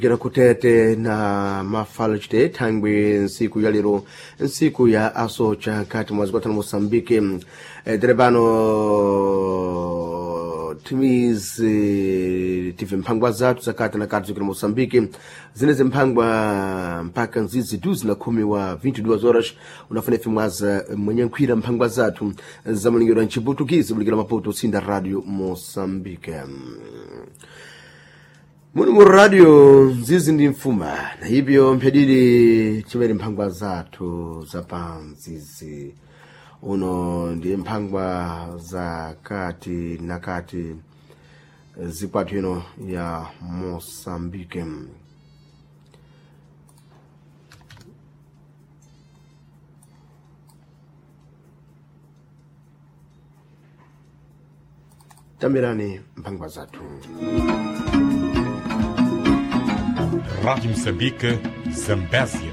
Gera kutete na mafalo chite thangwi nsiku ya lero, nsiku ya asocha nkati mwa zikwatano Moçambique. Tere pano timizi tive mphangwa zathu zakati na kati zikira Moçambique zinezi mphangwa mpaka nzizi 12 wa 22 horas unafuna ife mwaza mwenye nkhwira mphangwa zathu za mulingiro mchiputukizi mulikira Maputo sinda Radio Moçambique. Muni mu radio nzizi ndi mfuma na hivyo mphedili chimene mphangwa zathu za nzizi uno ndi mphangwa za kati na kati zikwathu ino ya Moçambique. Tambirani mphangwa zathu. Rádio Moçambique, Zambésia.